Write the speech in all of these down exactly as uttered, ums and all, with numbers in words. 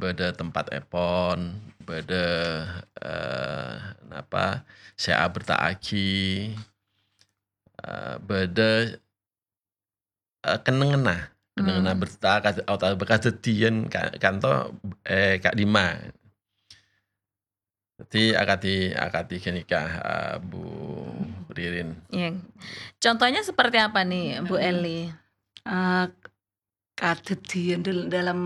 bâdâ tempatèpon, bâdâ, eh, napa, sè aberta'aghi, eh, bâdâ, eh, kennengnganna, kennengnganna Hmm. berta kad-, otabâ kadhâddhiyân ka-, kanto, eh, ka'dimma. Dhâddhi akadhi, akadhi ghânèka, eh, Bu Ririn. Iya. Contohnya seperti apa nih, Bu Hmm. Eli? Eh, kadhâddhiyân dal-, dalam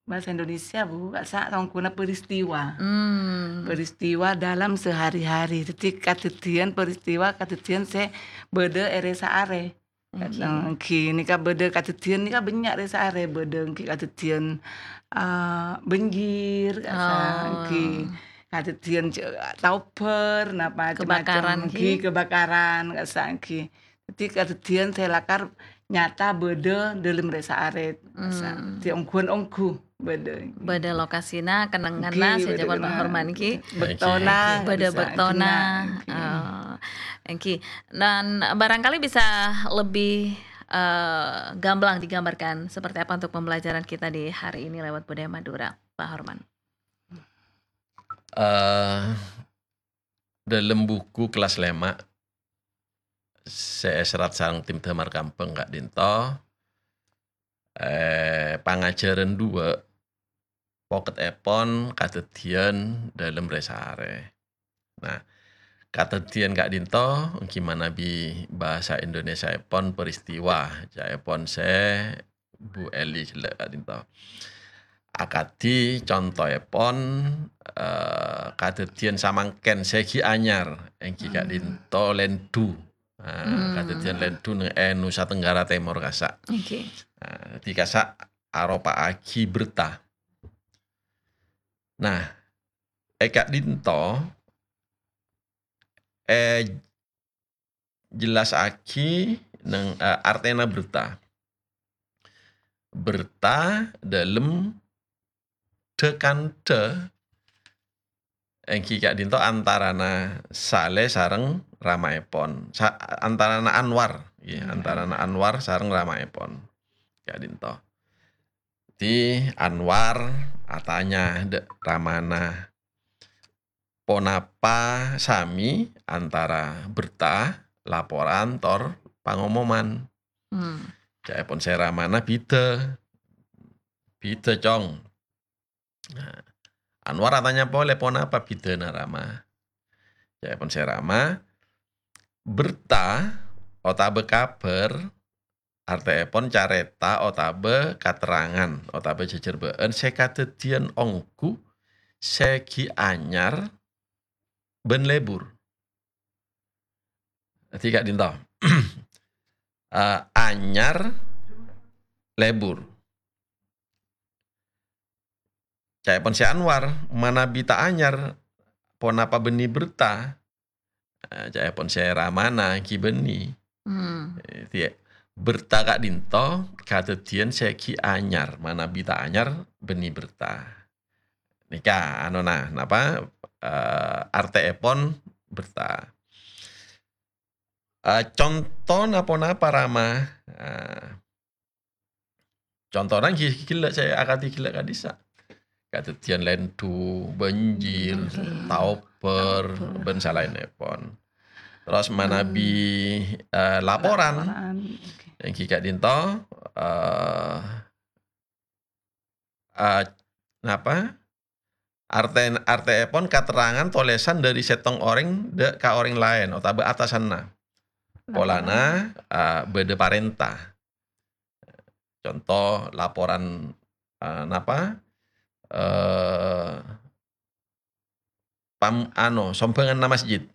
bahasa Indonesia, Bu, ka'issa' tongkona peristiwa. Hmm. Peristiwa dalam sehari-hari. Dhâddhi kadhâddhiyân peristiwa, kadhâddhiyân sè bâdâ è rè-saarè. Oke. Èngghi, nèka bâdâ kadhâddhiyân nèka bânnya' rè-saarè, bâdâ èngghi kadhâddhiyân, eh, banjir, ka'issa' Oh. èngghi kadhâddhiyân ce-, taobhâr, napa, macem-macem, Kebakaran, èngghi, ghi? Kebakaran, ka'issa' èngghi. Dhâddhi kadhâddhiyân sè lakar nyata bâdâ dâlem rè-saarè, ka'issa'. Hmm. Dhâddhi ongghuwân ongghu. Bâdâ. Bâdâ lokasina, kennengnganna, Èngghi, sè bâdâ jâwâb kennengngan. Horman, èngghi. Bâktona, Èngghi. Bâdâ bisa bâktona. Èngghi. Ah, èngghi. Dan barangkali bisa lebih, eh, gamblang digambarkan seperti apa untuk pembelajaran kita di hari ini lewat budaya Madura, Pak Horman. Eh, dâlem buku kellas lèma' sè èserrat sareng tim Damar Kambhâng ka'dinto, eh, pangajhârân duwâ' pokètèpon kadhâddhiyân dâlem rè-saarè. Nah, kadhâddhiyân ka'dinto èngghi manabi bhâsa Indonesiaèpon peristiwa, ca'èpon sè Bu Eli ghellâ' ka'dinto. Akadhi contoèpon, eh, kadhâddhiyân samangkèn sè ghi' anyar, èngghi Hmm. ka'dinto lèndhu. Nah, Hmm. kadhâddhiyân lèndhu neng-, è Nusa Tenggara Tèmor ka'issa'. Oke. Nah, dhâddhi ka'issa' aropa'aghi berta. Nah, è ka'dinto, eh, jellassaghi neng, eh, artèna berta. Berta dâlem dhâ-kandhâ èngghi ka'dinto antarana Saleh sareng ramaèpon. Sa-, antarana Anwar, ya, Hmm. antarana Anwar sareng ramaèpon. Ka'dinto. Dhâddhi Anwar atanya dâ' ramana, ponapa sami antara berta, laporan, tor pangomoman? Hmm. Ca'èpon sè ramana, "Bhidhâ. Bhidhâ, Cong." Nah, Anwar atanya polè, "Ponapa bhidhâna, Rama?" Ca'èpon sè rama, "Berta otabâ kabhâr artèèpon carèta otabâ katerrangan otabâ jhâjhârbâ'ân sè kadhâddhiyân ongghu sè ghi' anyar bân lebur." Dhâddhi ka'dinto. Eh, anyar, lebur. Ca'èpon sè Anwar, "Manabi ta' anyar, ponapa bânnè berta?" Eh, ca'èpon sè ramana ghi' bânnè. Hmm. Eh, dhâddhi, berta ka'dinto kadhâddhiyân sè ghi' anyar, manabi ta' anyar bânnè berta. Nèka, anona, napa, eh, artèèpon berta. Eh, contona ponapa, Rama? Eh, contona ghi-, ghellâ' sè akadhi ghellâ' ka'dissa'. Kadhâddhiyân lèndhu, banjir, Banjir. taobhâr, Taobhâr. bân salaènnèpon. Terros manabi, Hmm. eh, laporan, Laporan, oke. èngghi ka'dinto, eh, eh, napa? Artè-, artèèpon katerrangan tolèsan dâri sèttong orèng dâ' ka orèng laèn otabâ atasanna. Polana, eh, bâdâ parènta. Conto laporan, eh, napa? Eh, pam-, ano, sombhânganna masjid,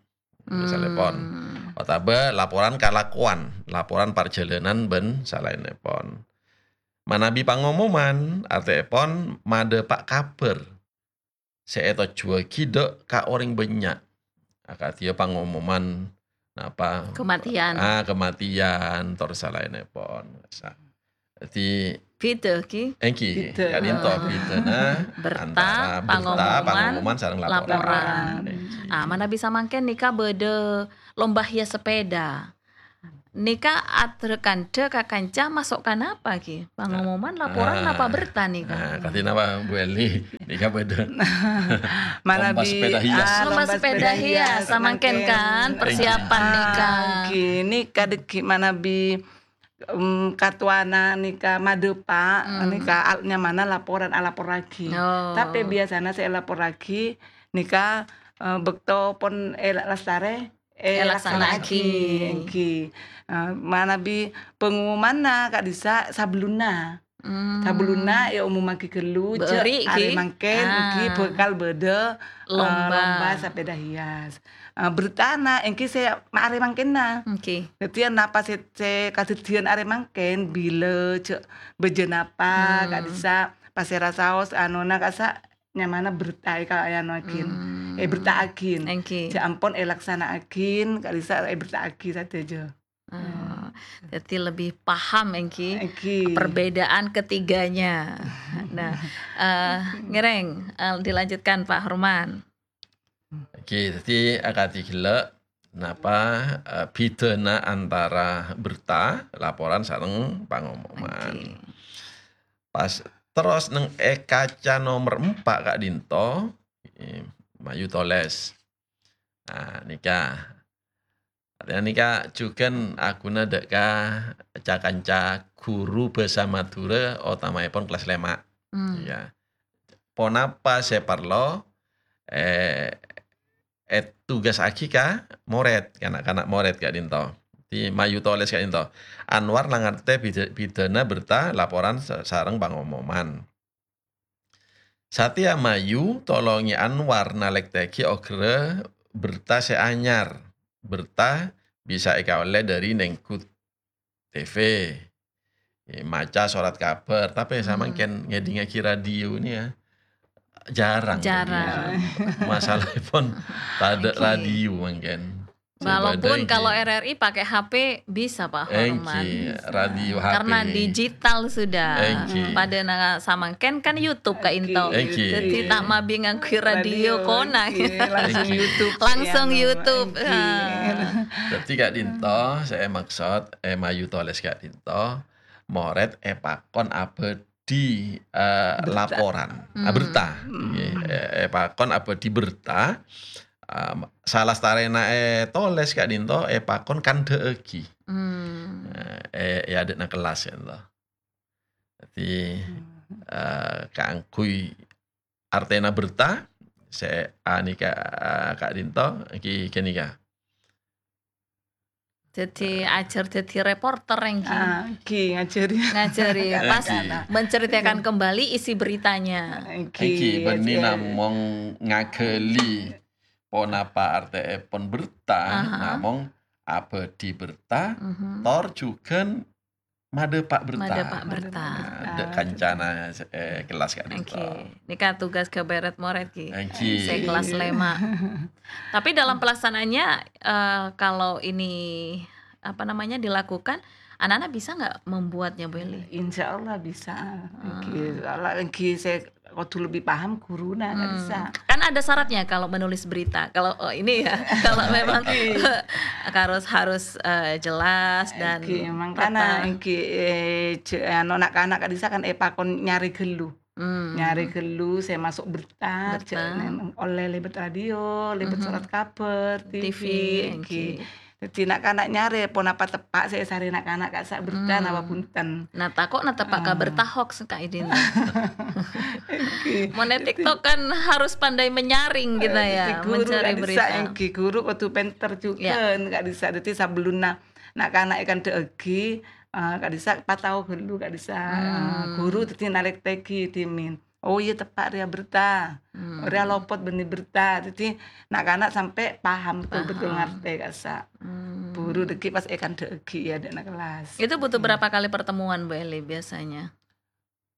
misalèpon. Hmm. Otabâ laporan kalakowan, laporan parjhâlânan bân salaènnèpon. Manabi pangomoman, artèèpon madhâpa' kabhâr sè ètojjhuwâghi dâ' ka orèng bânnya'. Akadhiyâ pangomoman, napa? Kematian. Ah, kematian, tor salaènnèpon. Sa-, dhâddhi Bhidhâ, ghi? Èngghi, Bhidhâ. ka'dinto Ah. bhidhâna Berta, antara berta, pangomoman, pangomoman sareng laporan. laporan. Èngghi. Ah, manabi samangkèn nèka bâdâ lomba hias sepeda. nèka aḍâ' kandhâ ka kanca maso' ka napa, ghi? Pangomoman, laporan, napa berta nèka? Ah, kadhi napa, Bu Eli? Nèka bâḍâ. Manabi, pompa sepeda hias. Ah, lomba sepeda hias, samangkèn kan, persiapan nèka. Ah, ghi, nèka ḍâggi' manabi, em, katowana nèka maḍâpa', nèka al-, nyamana laporan, alaporraghi. Oh. Tapè biyasana sè èlaporraghi nèka, eh, bâkto pon èlastarè, èlaksana'aghi, èlaksana'aghi. Èngghi. Eh, manabi pangomomanna ka'ḍissa' sabellunna. Hmm. Sabellunna èomommaghi ghâllu, jhâ' arè mangkèn èngghi bhâkal bâḍâ, eh, lomba sepeda hias. Eh, bertana èngghi sè ma-, arè mangkènna. Èngghi. Dhâddhi, napa sè, sè kadhâddhiyân arè mangkèn, bilâ jhâ' bâjâ napa, ka'ḍissa', pasèra saos, anona ka'ḍissa' nyamana berta èka-, èanoaghin, èberta'aghin. Èngghi. Jhâ' ampon èlaksana'aghin, ka'ḍissa' èberta'aghi sadhâjâ. Ah, jadi lebih paham èngghi perbedaan ketiganya. Nah, eh, ngèrèng, eh, dilanjutkan, Pak Horman. Èngghi, jadi akadhi ghellâ' napa, eh, bhidhâna antara berta, laporan, sareng pangomoman. Èngghi. Pas terros neng è kaca nomer empa' ka'ḍinto, eh, mayu tolès. Nah, nèka. Artèna nèka jhughân aghuna ḍâ' ka ca-kanca ghuru bhâsa Madhurâ, otamaèpon kellas lèma'. Hmm. Ya. Ponapa sè parlo, eh, ètugasaghi ka morèd, ka na'-kana' morèd ka'ḍinto. Di mayu tolès ka'ḍinto. Anwar la ngartè bhidhâ-, bhidhâna berta, laporan sa-, sareng pangomoman. Satèya mayu, tolongè Anwar nalèktèghi ogrâ berta sè anyar. Berta bisa èkaollè ḍâri nènggu T V, eh, maca sorat kabhâr, tapè samangkèn ngèḍingngaghi radio nèka, ya, jhârâng. Jhârâng. Masalahèpon taḍâ' radio mangkèn. Walaupun kalau R R I pakai H P bisa, Pak Horman. Èngghi, radio H P. Karena digital sudah. Èngghi. Paḍâ na samangkèn kan YouTube ka'ḍinto. Èngghi. Jadi ta' mabi ngangghuy radio kona. Èngghi, langsung YouTube. Langsung YouTube. Èngghi. Dhâddhi ka'ḍinto, sè èmaksod, eh, mayu tolès ka'ḍinto, morèd èpakon abâ- di, eh, laporan, ah, berta. Ngghi, eh, èpakon abâḍhi berta, em, salastarèna ètolès ka'ḍinto èpakon kandhâ'âghi. Eh, è, è aḍâ'na kellas ka'ḍinto. Dhâddhi, eh, kaangghuy artèna berta, sè anèka, eh, ka'ḍinto, ghi-, ghânèka. Jadi, ajhâr jadi reporter èngghi. Ah, èngghi, ngajhâri. Ngajhâri, pas menceritakan kembali isi beritanya. Èngghi, bânnè namong ngaghâli ponapa artèèpon berta, namong abâḍhi berta, tor jhughân maḍâpa' berta. Maḍâpa' berta. Nah, ḍâ' kancana, eh, kellas ka'ḍinto. Èngghi. Nèka tugas ghâbây rèd-morèd, ghi. Èngghi. Sè kellas lèma'. Tapi dalam pelaksanaannya, eh, kalau ini, apa namanya, dilakukan, anak-anak bisa nggak membuatnya, Bu Eli? Insya Allah bisa. Èngghi, soalnya èngghi sè kodhu lebbi paham ghuruna, ngghi bisa. Kan ada syaratnya kalau menulis berita. Kalau, oh, ini ya, kalau memang harus, harus, eh, jelas dan èngghi, mangkana èngghi, eh, je-, anu, na'-kana' ka'ḍissa' kan èpakon nyarè ghâllu. Nyarè ghâllu sè maso' berta, je-, neng-, ollè lèbât radio, lèbât sorat kabhâr, T V, èngghi. Dhâddhi na'-kana' nyarè ponapa teppa' sè èsarè na'-kana' ka'issa' berta napa bhunten. Nah, tako' na teppa' ka berta hoax, Kak Idin. Mon è TikTok kan harus pandai menyaring kita ya, mencari berita. Èngghi, ghuru kodhu pènter jhughân, ka'ḍissa'. Dhâddhi sabellunna na'-kana' èkandhâ'âghi, eh, ka'ḍissa' patao ghâllu, ka'ḍissa', eh, ghuru dhâddhi nalèktèghi dhimèn. Oh iyâ, teppa' rèya berta. Rèya lopot bânnè berta. Dhâddhi na'-kana' sampè' paham betul-betul ngartè ka'issa'. Buru dhâggi' pas èkandhâ'âghi è aḍâ'na kellas. Itu butuh berapa kali pertemuan, Bu Eli, biasanya?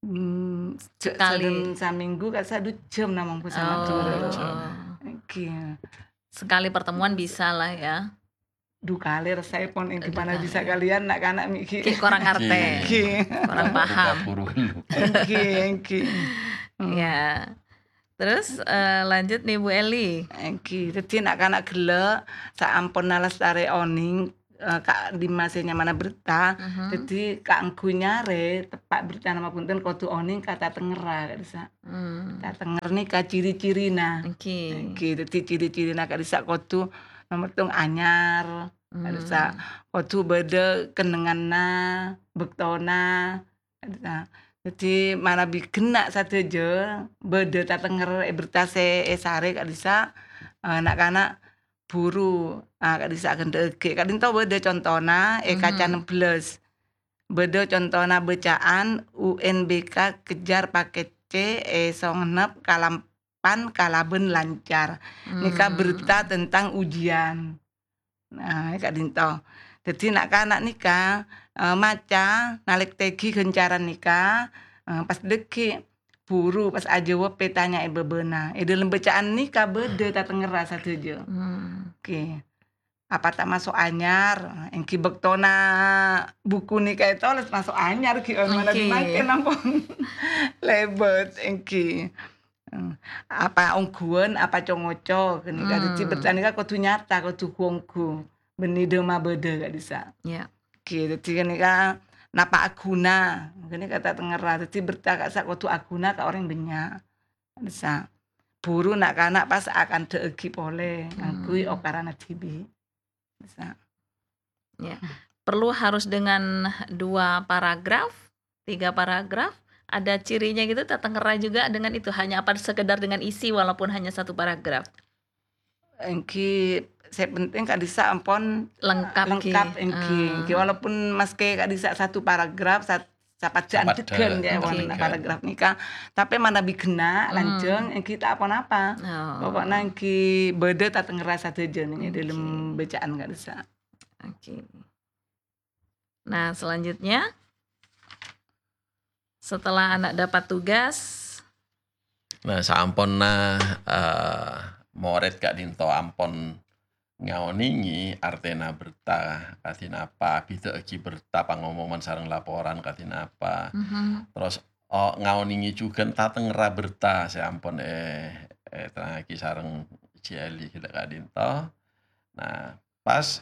Hmm, sekali. Saḍâ samènggu ka'issa' ḍu jhâm namong bhâsa Madhurâ. Oh. Èngghi. Sekali pertemuan bisa lah ya. Ḍu kalè rasaèpon èngghi, mana bisa kalèyan na'-kana' mè' ghi'. Ghi' korang ngartè. Ghi'. Korang paham. Buru-buru. Èngghi, èngghi. Hmm. Ya. Terus, eh, lanjut nih, Bu Eli. Èngghi, dhâddhi na'-kana' ghellâ' saamponna lastarè onèng, eh, ka dimma sè nyamana berta. Mhm. Dhâddhi kaangghuy nyarè teppa' bertana mabhunten kodhu onèng ka tatengngerra, Kak Disa. Hmm. Tatenger nèka ciri-cirina. Èngghi. Èngghi, dhâddhi ciri-cirina, Kak Disa, kodhu nomer tong anyar, Kak Disa. Hmm. Kodhu bâdâ kennengnganna, bâktona, Kak Disa. Dhâddhi manabi ghenna' sadhâjâ bâdâ tatenger è berta sè èsarè, Kak Disa, eh, na'-kana' buru, ah, Kak Disa aghândhâ'aghi. Ka'dinto bâdâ contona è kaca Mhm. ennem belas. Bâdâ contona bâca'an U N B K kejar paket C è Songennep kalampan kalabân lancar. Nèka Hmm. berta tentang ujian. Nah, ka'dinto. Dhâddhi na'-kana' nèka, eh, maca, nalèktèghi ghâncaran nèka, eh, pas dhâggi' buru pas ajâwâb pètanya'an è bâbâna. È dhâlem bâca'an nèka bâdâ tatengngerra sadhâjâ. Hmm. Oke. Apa tamaso' anyar? Èngghi bâktona buku nèka ètolès maso' anyar ghi' on, manabi Èngghi. mangkèn ampon lèbât, èngghi. Hmm. Apa ongghuwân, apa co-ngoco, ghânèka. Dhâddhi Hmm. berta nèka kodhu nyata, kodhu ghu-ongghu. Bânnè dhâ' mabâdâ, Kak Disa. Ya. Oke, dhâddhi ghânèka napa aghuna, ghânèka tatengngerra. Dhâddhi berta Kak Disa kodhu aghuna ka orèng bânnya'. Kak Disa. Buru na'-kana' pas akandhâ'aghi polè, ngangghuy Hmm. okarana dhibi'. Bisa. Ya. Perlu harus dengan dua paragraf, tiga paragraf, ada cirinya gitu, tatengngerra juga dengan itu, hanya apa sekedar dengan isi walaupun hanya satu paragraf? Èngghi, sè penting Kak Disa ampon Lengkap, lengkap, ghi. Èngghi. Ah. Èngghi, walaupun maskè Kak Disa satu paragraf, sat-, sapajjhâ'ân Sapajjhâ'. Dheggân, ya, Oke. wonten paragraf nèka. Tapè manabi ghenna', Hmm. lanjhâng, èngghi ta' ponapa. Oh. Pokokna èngghi bâdâ tatengngerra sadhâjâ nèng è Oke. dhâlem bâca'an Kak Disa. Oke. Nah, selanjutnya, setelah anak dapat tugas. Nah, saamponna, eh, morèd ka'dinto ampon ngaonèngè artèna berta kadhi napa, abhidhâ'aghi berta pangomoman sareng laporan kadhi napa. Mhm. Terros, oh, ngaonèngè jhughân tatengngerra berta sè ampon è-, èterrangaghi sareng Jali ghellâ' ka'dinto. Nah, pas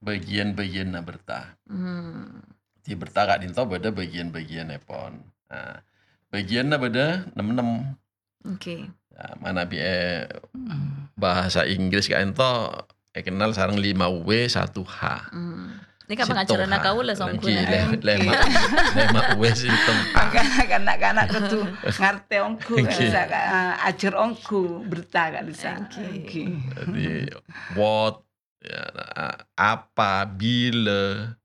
bâgiyân-bâgiyânna berta. Hmm. Di berta ka'dinto bâdâ bâgiyân-bâgiyânnèpon. Nah, bâgiyânna bâdâ nem-nem. Oke. Ya, manabi è Hmm. bahasa Inggris ka'dinto èkennal sareng lima W satu H. Hmm. Nèka Sèttong pangajaranna H. kaulâ, Lagi songghuna. lè-, Oke. lèma', lèma' W sèttong H. Maka na'-kana' kodhu ngartè ongghu, Oke. Kak Disa, Kak, eh, ajhâr ongghu, berta, Kak Disa. Oke. Oke. Jadi, what, ya, a-, apa, bilâ,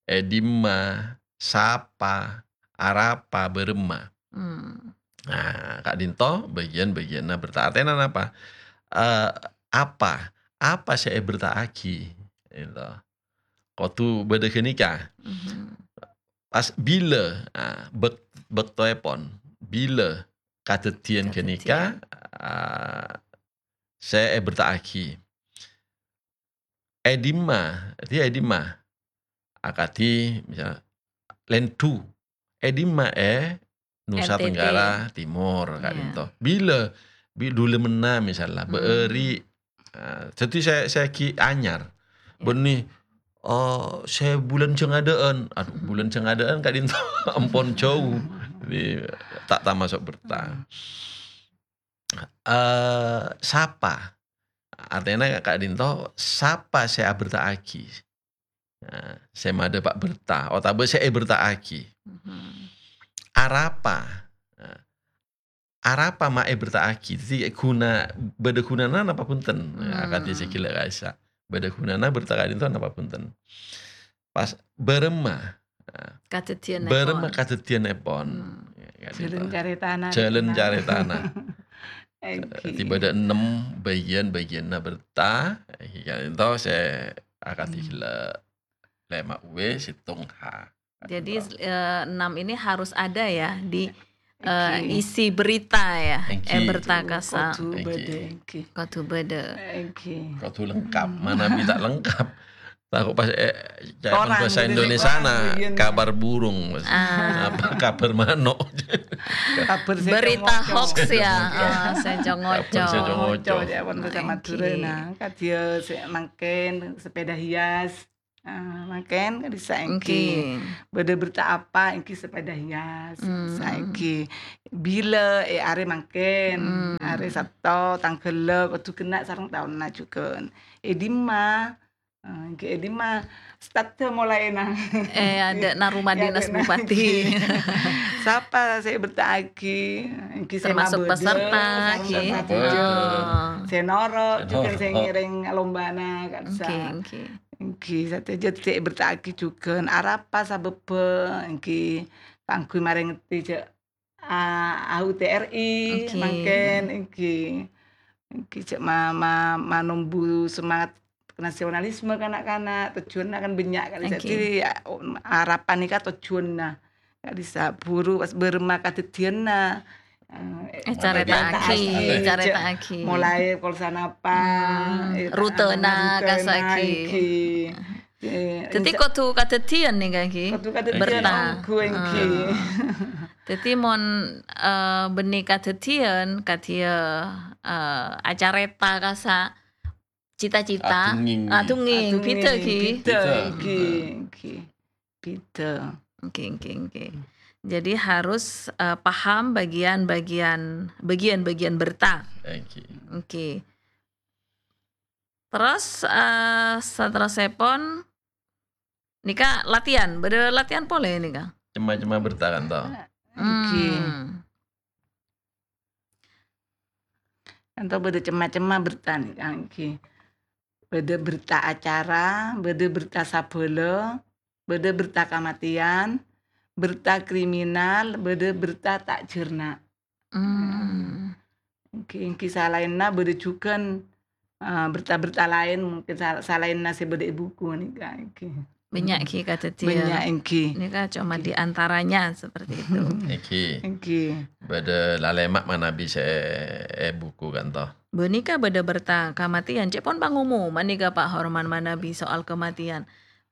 è dimma, sapa, arapa, bârâmma. Hmm. Nah, ka'dinto bâgiyân-bâgiyânna berta. Artèna napa? Eh, apa? Apa sè èberta'aghi? Gitu. Kodhu bâdâ ghânèka. Mhm. Pas bilâ, ah, bâk-, bâktoèpon, bilâ kadhâddhiyân ghânèka, Kadhâddhiyân. ah, sè èberta'aghi. È dimma, dhâddhi è dimma? Akadhi, misal, Lendu. È dimma? È Nusa N T T. Tenggara Timur, Iya. ka'dinto. Bilâ, bi-, dhulâmenna, misal, la, Hmm. bâ'âri'. Ah, dhâddhi sè, sè ghi' anyar. Iya. Bânnè, oh, sè bulân jhângadâ'ân. Aduh, Hmm. bulân jhângadâ'ân ka'dinto ampon jhâu. Jadi, ta' tamaso' berta. Hmm. Eh, sapa? Artèna ka'dinto, sapa sè aberta'aghi? Nah, sè madhâpa' berta, otabâ sè èberta'aghi. Mhm. Arapa? Nah, arapa ma' èberta'aghi? Dhâddhi ghuna, bâdâ ghunana napa bhunten? Nah, Hmm. akadhi sè ghellâ' ka'issa'. Bâdâ ghunana berta ka'dinto napa bhunten? Pas bârâmma. Nah, Kadhâddhiyânèpon. bârâmma kadhâddhiyânèpon. Hmm. Ya, ka'dinto. Jhâlân carètana, Jhâlân carètana. Èngghi. Dhâddhi bâdâ ennem bâgiyân-bâgiyânna berta, èngghi ka'dinto sè akadhi Hmm. ghellâ' lèma' W, sèttong H. Jadi, Ka'dinto. eh, enam ini harus ada ya di, eh, Èngghi. isi berita ya, Èngghi. eh, berta Kodhu, ka'issa'. kodhu Èngghi. bâdâ, èngghi. Kodhu bâdâ. Èngghi. Kodhu lengkap. Hmm. Manabi ta' lengkap. Tako' pas, eh, ca'èpon Korang, bhâsa gitu sih, Indonesiana, korang, gitu. kabar burung, Mas. Ah. Apa kabar manok? Kabar sè Berita co-ngoco. hoax ya, Kabar ah, sè co-ngoco. Kabar sè co-ngoco. Co-ngoco, ca'èpon bhâsa Èngghi. Madhurâna. Kadhiyâ sè mangkèn, sepeda hias. Ah, mangkèn ka'dissa' èngghi. Èngghi. Bâdâ berta apa èngghi sepeda hias, Hmm. saèngghi. Bilâ, eh, arè mangkèn, Hmm. arè Sabto, tangghâllâ, kodhu ghenna' sareng taonna jhughân. È dimma? Ah, èngghi è dimma? Start molaèna. Eh, adâ'na rumah È dinas adâ'na bupati. èngghi. Sapa sè èberta'aghi? Èngghi sè Termasuk mabâdâ, peserta, sareng èngghi. peserta Betul. jhughân. Oh. Sè noro' Sè jhughân sè noro'. ngèrèng lombana, ka'dissa'. Èngghi, èngghi. Èngghi, sadhâjâ sè èberta'aghi jhughân. Arapa sabâbbhâ? Èngghi, kaangghuy marèngngè jhâ', a-, A U T R I, Oke. mangkèn, èngghi. Èngghi, jhâ' ma-, ma-, manombu semangat nasionalisme kana'-kana', tojjhuwânna kan bânnya' kan. Oke. Jadi, a-, o-, arapan nèka tojjhuwânna. Ka'dissa' buru pas bârâmma kadhâddhiyânna, eh, Eh, carèta'aghi, carèta'aghi. carèta'aghi. Molaè pokol sanapa, Hmm, eh, rutena, rutena, kasa'aghi. èngghi. Eh, Dhâddhi insya-, kodhu kadhâddhiyân nèka, èngghi? kodhu kadhâddhiyân Berta. ongghu, èngghi. Ah. Dhâddhi mon, eh, bânnè kadhâddhiyân, kadhiyâ, eh, acarèta kasa' cita-cita. Adhungèng. Adhungèng, Adhungèng, bhidhâ, èngghi. bhidhâ, Bhidhâ. èngghi, èngghi. Bhidhâ. Oke, oke, oke. Jadi harus, eh, paham bagian-bagian, bagian-bagian berta. Èngghi. Oke. Terros, eh, saterrossèpon, nèka latihan, bâdâ latihan polè nèka. Cem-macemma berta kan, to? Èngghi. Hmm. Kan to bâdâ cem-macemma berta nèka, èngghi. Bâdâ berta acara, bâdâ berta sabâlâ, bâdâ berta kamatèyan, berta kriminal, bâdâ berta ta' jhârna. Hmm. Èngghi, èngghi salaènna bâdâ jhughân, eh, berta-berta laèn, mungkin sal-, salaènna sè bâdâ è buku nèka, èngghi. Bânnya', Hmm. èngghi, kadhâddhiyân. Bânnya', èngghi. Nèka coma Èngghi. di antaranya seperti itu. Èngghi. Èngghi. Bâdâ lalèma' manabi sè è buku kan, to? Bâ nèka bâdâ berta kamatèyan, cè' pon pangomoman nèka, Pa' Horman, manabi soal kamatèyan.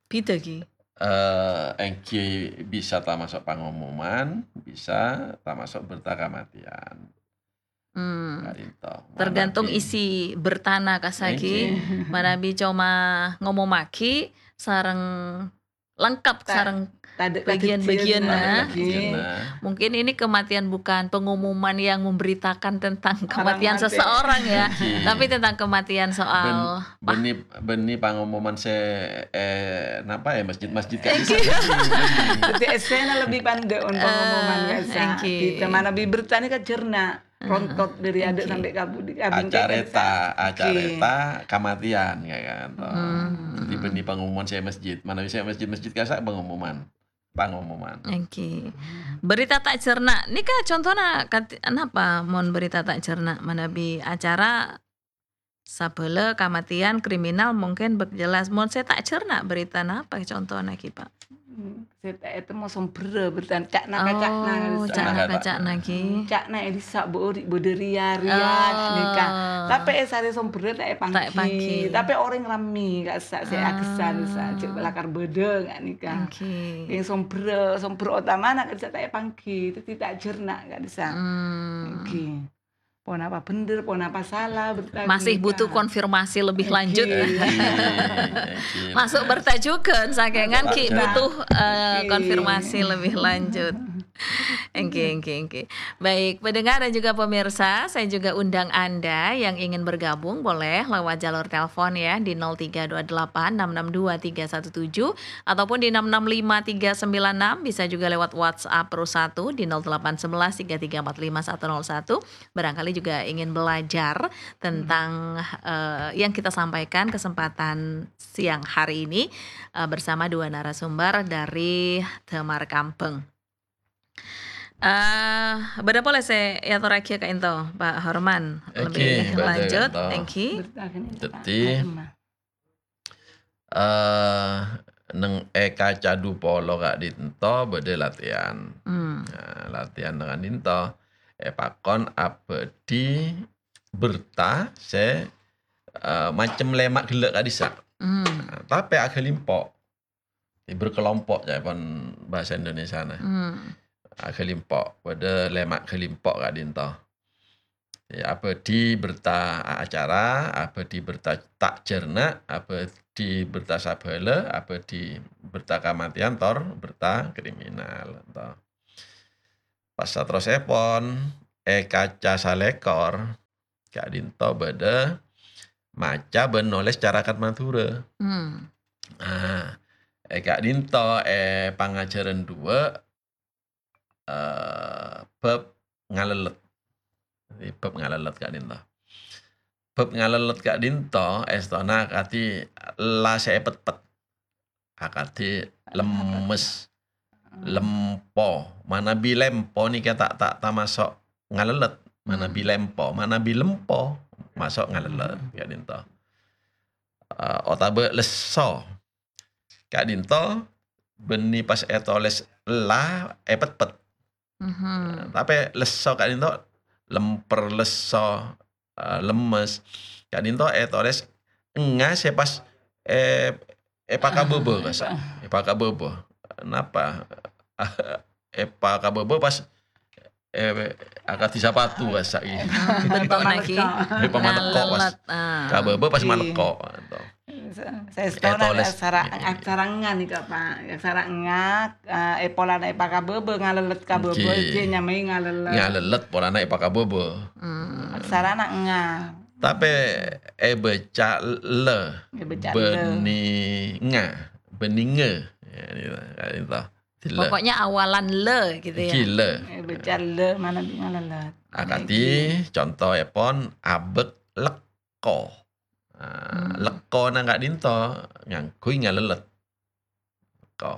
Bhidhâ, ghi? Eh, èngghi bisa tamaso' pangomoman, bisa tamaso' berta kamatèyan. Hmm. Ka'dinto. Tergantung Manabi isi bertana kasa'aghi, Èngghi. manabi coma ngomomaghi sareng lengkap Ta-, sareng tadâ' bagian-bagianna. kadhâddhiyânna. Kadhâddhiyânna. Mungkin ini kematian bukan pengumuman yang memberitakan tentang Orang kematian mati. seseorang ya, Èngghi. tapi tentang kematian soal Bân-, bânnè, bânnè pangomoman sè, eh, napa ya, masjid-masjid kan Èngghi. bisa. Dhâddhi essèna lebbi pandâ' mon pangomoman Eh, ka'issa'. èngghi. Kita manabi berta nèka jhârna, Heeh. rontot dâri adâ' Èngghi. sampè' ka budi, ka bingkèng Acarèta, ka'issa'. Èngghi. acarèta kamatèyan, ya kan, to. Hmm. Dhâddhi bânnè pangomoman sè masjid, manabi sè masjid-masjid ka'issa' pangomoman. Pangomoman. Èngghi. Berita ta' jhârna. Nèka contona kat-, napa mon berita ta' jhârna? Manabi acara sabâlâ, kamatèyan, kriminal, mungkin bâk jelas. Mon sè ta' jhârna, berita napa contona ghi, Pa'? Hmm, sè ta' ètemmo sombherra, berta ca'na ka ca'na. Oh, ca'na ka ca'na ghi. Ca'na è dissa' bâ' ori' bâdâ riya-riya, Oh. nèka. Tapè è sarè sombherra ta' èpangghi. Ta' èpangghi. Tapè orèng rammè ka'issa' sè Ah. aghessan, ka'issa' jhâ' lakar bâdâ, nga' nèka. Èngghi. Sè sombherra, sombherra otamana ka'issa' ta' èpangghi, dhâddhi ta' jhârna ka'issa'. Hmm. Èngghi. Ponapa bhender, ponapa sala, berta Masih ghânèka. butuh konfirmasi lebih lanjut. Èngghi. Èngghi, èngghi. Masuk berta jhughân, sakèngan Masuk ghi' berta. butuh, eh, Èngghi. konfirmasi lebih lanjut. Èngghi, èngghi, èngghi. Baik, pendengar dan juga pemirsa, saya juga undang Anda yang ingin bergabung, boleh lewat jalur telepon ya, di nol tiga dua delapan enam enam dua tiga satu tujuh, ataupun di enam enam lima tiga sembilan enam, bisa juga lewat WhatsApp Pro satu di nol delapan sebelas tiga tiga empat lima satu nol satu. Barangkali juga ingin belajar tentang, Hmm. eh, yang kita sampaikan kesempatan siang hari ini, eh, bersama dua narasumber dari Damar Kambang. Eh, bâdâ polè sè èatorraghi ka'dinto, Pa' Horman. Èngghi, Lebih bâdâ lanjut, ka'dinto. èngghi. Berta ghânèka, Dhâddhi, Pak. Eh, neng è kaca dupolo ka'dinto bâdâ latihan. Hmm. Nah, latihan ka'dinto èpakon abâdhi berta sè, eh, macem lèma' ghellâ' ka'dissa'. Hmm. Nah, tapè aghâlimpo'. Berkelompok, ca'èpon bahasa Indonesiana. Hmm. Aghâlimpo', bâdâ lèma' ghâlimpo' ka'dinto. Ya, abâdhi berta acara, abâdhi berta ta' jhârna, abâdhi berta sabhâlâ, abâdhi berta kamatèyan, tor berta kriminal, to. Pas saterrossèpon, è kaca salèkor, ka'dinto bâdâ maca bân nolès carakat Madhurâ. Hmm. Ah, è ka'dinto è pangajhârân duwâ', eh, bab ngalellet. Jadi, bab ngalellet ka'dinto. Bab ngalellet ka'dinto, èstona akadhi la sè èpetpet. Akadhi lemmes, lempo. Manabi lempo nèka ta', ta' tamaso' ngalellet. Manabi Hmm. lempo, manabi lempo, maso' ngalellet Hmm. ka'dinto. Eh, otabâ lesso. Ka'dinto bânnè pas ètolès la èpetpet. Mhm. Tapè lesso ka'dinto lemper, lesso, eh, lemmes. Ka'dinto ètolès nga sè pas, eh, èpakabâbâ, Ah, kasa'. Èpakabâbâ. Napa? Èpakabâbâ pas, eh, akadhi sapatu, kasa', ghi. Hmm, bentuknya, ghi. Èpamalekko, pas. Ngalellet, ah. Kabâbâ pas Ghi. malekko, to. Sa-, saèstona Ètolès. aksara, Ghi, ghi, ghi. aksara nga nèka, Pak. Aksara nga, eh, è polana èpakabâbâ, ngalellet kabâbâ, Ghi. jhâ' nyamaè ngalellet. Ngalellet polana èpakabâbâ. Hmm. Aksarana nga. Tapè èbâca le. Èbâca le. Bânnè nga. Bânnè nge. Ya, ini, ini, toh. Di le. Pokoknya awalan le gitu ya. Ghi le. Èbâca le, manabi ngalellet. Akadhi, Nèka. contoèpon, abâk lek-, lekko. Ah, Hmm. lekkona ka'dinto ngangghuy ngalellet. Lekko.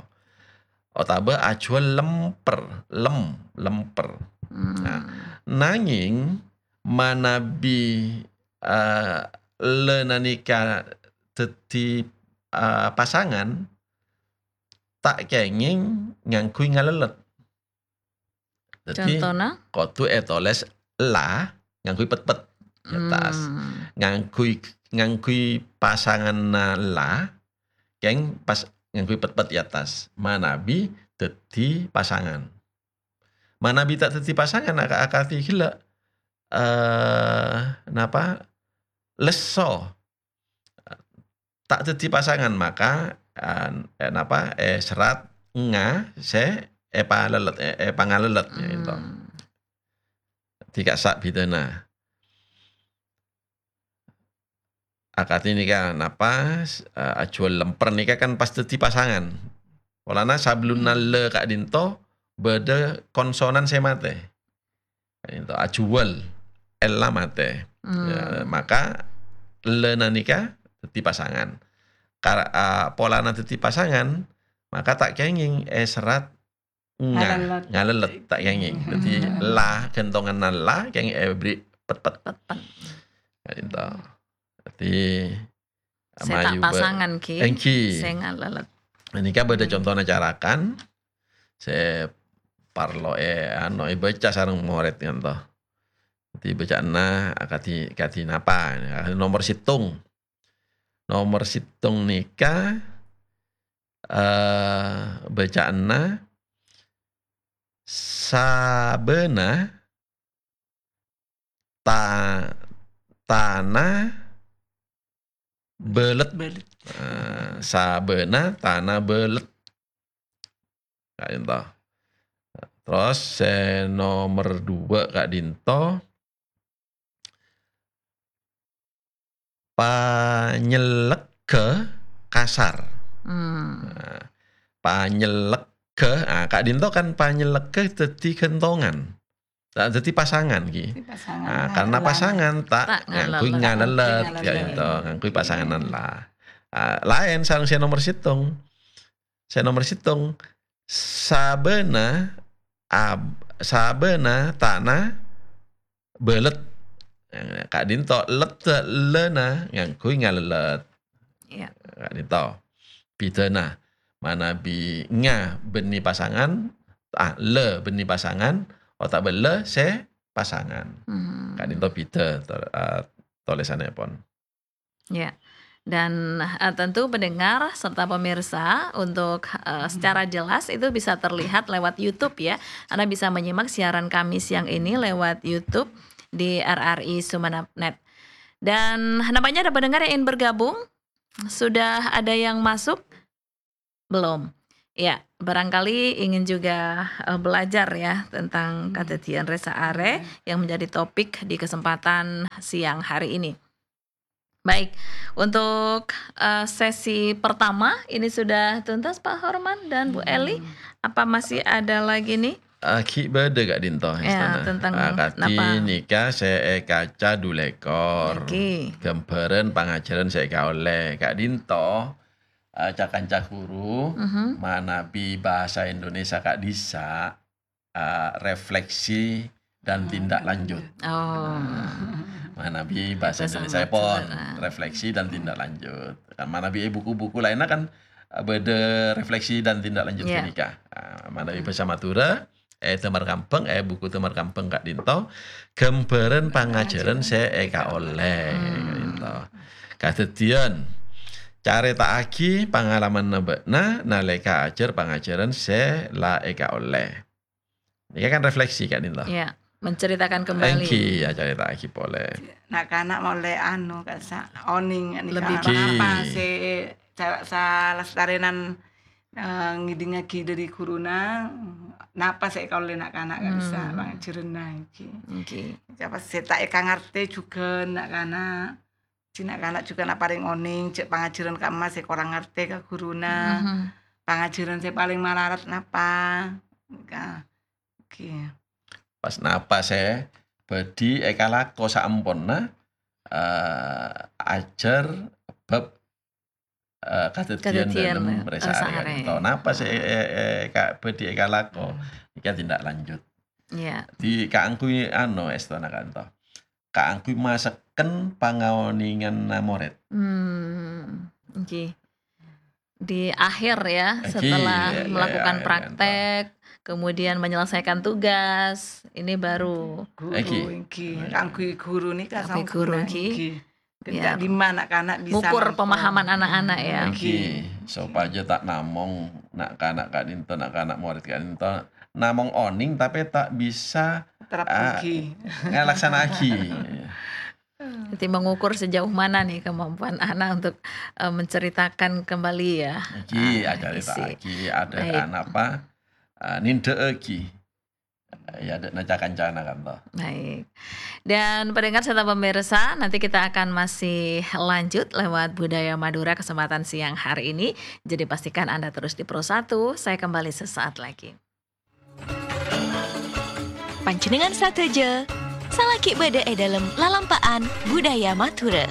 Otabâ ajhuwâl lemper, lem-, lemper. Hmm. Nah, nangèng manabi, eh, le nanèka dhâddhi, eh, pasangan, ta' kèngèng ngangghuy ngalellet. Dhâddhi, Contona? kodhu ètolès la ngangghuy petpet è attas. Hmm. Ngangghuy, ngangghuy pasanganna la, kèng pas ngangghuy petpet è attas. Manabi dhâddhi pasangan. Manabi ta' dhâddhi pasangan, aka-, akadhi ghellâ', eh, napa? Lesso. Ta' dhâddhi pasangan, maka, eh, eh, napa, eh, serat nga sè èpalellet, eh, èpangalellet, ya, itu. Hmm. Dhika sa' bhidhâna. Akadhi nèka, napa, eh, ajhuwâl lemper nèka kan pas dhâddhi pasangan. Polana sabellunna Hmm. le ka'dinto bâdâ konsonan sè matè. Itu ajhuwâl, ella matè. Hmm. Ya, maka le nanèka dhâddhi pasangan. Kar-, a, polana dhâddhi pasangan, maka ta' kèngèng èserat nga-, Ngalellet. ngalellet, ta' kèngèng. Dhâddhi Hmm. la, ghântonganna la, kèngèng èberri' petpet. Petpet. Ya, itu. Dhâddhi, Sè ta' mayu ba-, pasangan, ghi. Èngghi. Sè ngalellet. Nèka bâdâ Hmm. contona carakan, sè parlo è, ano, èbâca sareng morèd, kan, to. Dhâddhi bâcaanna akadhi, kadhi napa? Nomor sèttong. Nomor sèttong nèka, eh, bâcaanna sabâna ta-, tana bâlet. Bâlet. Eh, sabâna tana bâlet. Ka'dinto. Terros sè nomer dua ka'dinto, panyellegghâ kasar. Hmm. Nah, panyellegghâ, ah, ka'dinto kan panyellegghâ dhâddhi ghântongan. Ta' dhâddhi pasangan, ghi. Dhâddhi pasangan. Ah, karena pasangan ta' Ta' ngangghuy ngalellet. Ngalellet, ya, Ngalellet. Itu, ngangghuy pasangan la. Ah, laèn sareng sè nomer sèttong. Sè nomer sèttong, sabâna ab-, sabâna tana bâlet. Ka'dinto leddhâ lana ngangghuy ngalellet. Iya. Ka'dinto. Bhidhâna. Manabi nga bânnè pasangan, ah, la bânnè pasangan, otabâ la sè pasangan. Hmm. Ka'dinto bhidhâ to-, eh, tolèsanèpon. Ya. Dan, eh, tentu pendengar serta pemirsa untuk, eh, secara jelas itu bisa terlihat lewat YouTube ya. Anda bisa menyimak siaran kami siang ini lewat YouTube di R R I Sumenep net. Dan nampaknya ada pendengar yang ingin bergabung. Sudah ada yang masuk? Belum. Ya, barangkali ingin juga, eh, belajar ya tentang Hmm. kadhâddhiyân rè-saarè Hmm. yang menjadi topik di kesempatan siang hari ini. Baik, untuk, eh, sesi pertama ini sudah tuntas, Pak Horman dan Bu Eli. Hmm. Apa masih ada lagi nih? Ah, ghi' bâdâ ka'dinto, Ya, istana. Tentang Ah, kadhi napa? Nèka sè èkaca dulekor. Ngghi. Ghâmbhârân pangajhârân sè èkaollè. Ka'dinto, ah, ca-kanca ghuru, Mhm. manabi bhâsa Indonesia ka'dissa', ah, refleksi dan Hmm. tindak lanjut. Oh. Nah, manabi bhâsa Bhâsa Indonesia pon, Madhurâ. Refleksi dan tindak lanjut. Kan manabi è buku-buku laènna kan, ah, bâdâ refleksi dan tindak lanjut Iya. ghânèka. Ah, manabi Hmm. bhâsa Madhurâ, è Dâmar Kambhâng, è buku Dâmar Kambhâng ka'dinto, ghâmbhârân pangajhârân sè èkaollè, Hmm. ka'dinto. Kadhâddhiyân, carèta'aghi pangalamanna bâ'na nalèka ajhâr pangajhârân sè la èkaollè. Nèka kan refleksi ka'dinto. Iya, menceritakan kembali. Èngghi, ya, carèta'aghi polè. Na'-kana' molè anu, ka'dissa' onèng nèka Lebih paham. Napa sè sa-, salastarènan eh, ngèdingngaghi dâri ghuruna, napa sè èkaollè na'-kana' ka'dissa' Hmm. pangajhârânna èngghi. Èngghi. Sapa sè ta' èkangartè jhughân na'-kana'. Jhi na'-kana' jhughân aparèng onèng, jhâ' pangajhârân ka'emma sè korang ngartè ka ghuruna. Mhm. Pangajhârân sè palèng malarat napa. Ka-, èngghi. Pas napa sè bhâdhi èkalako saamponna, eh, ajhâr bab eh, kadhâddhiyân Kadhâddhiyân, dâlem eh, rè-saarè rè-saarè. Ka'dinto. Napa sè, eh, eh, ka-, bhâdhi èkalako? Hmm. Nèka tindak lanjut. Iya. Dhi kaangghuy anu, èstona ka'dinto. Kaangghuy masekken pangaonènganna morèd. Hmm, èngghi. Di akhir ya, Èngghi, setelah iya, iya, melakukan iya, iya, praktek, kemudian menyelesaikan tugas, ini baru Guru, Èngghi. Èngghi. Kaangghuy ghuru nèka Kaangghuy ghuru, sampurna, èngghi. Èngghi. Biar dimma na'-kana' bisa ngukur nangkong. Pemahaman anak-anak, ya. Èngghi, sopajâ ta' namong na'-kana' ka'dinto, na'-kana' morèd ka'dinto, namong onèng tapè ta' bisa, Terapaghi. ah, ngalaksana'aghi. Jadi mengukur sejauh mana nih kemampuan anak untuk, eh, menceritakan kembali ya, Èngghi, ah, acarèta'aghi, isi. Ada Baik. anak apa, ah, nindhâ'âghi. Ya, dâ' na ca-kancana kan, toh. Baik. Dan pendengar serta pemirsa, nanti kita akan masih lanjut lewat Budaya Madura kesempatan siang hari ini. Jadi pastikan Anda terus di Pro satu. Saya kembali sesaat lagi. Panjhennengngan sadhâjâ, salaghi bâdâ è dâlem lalampa'an Budaya Madura.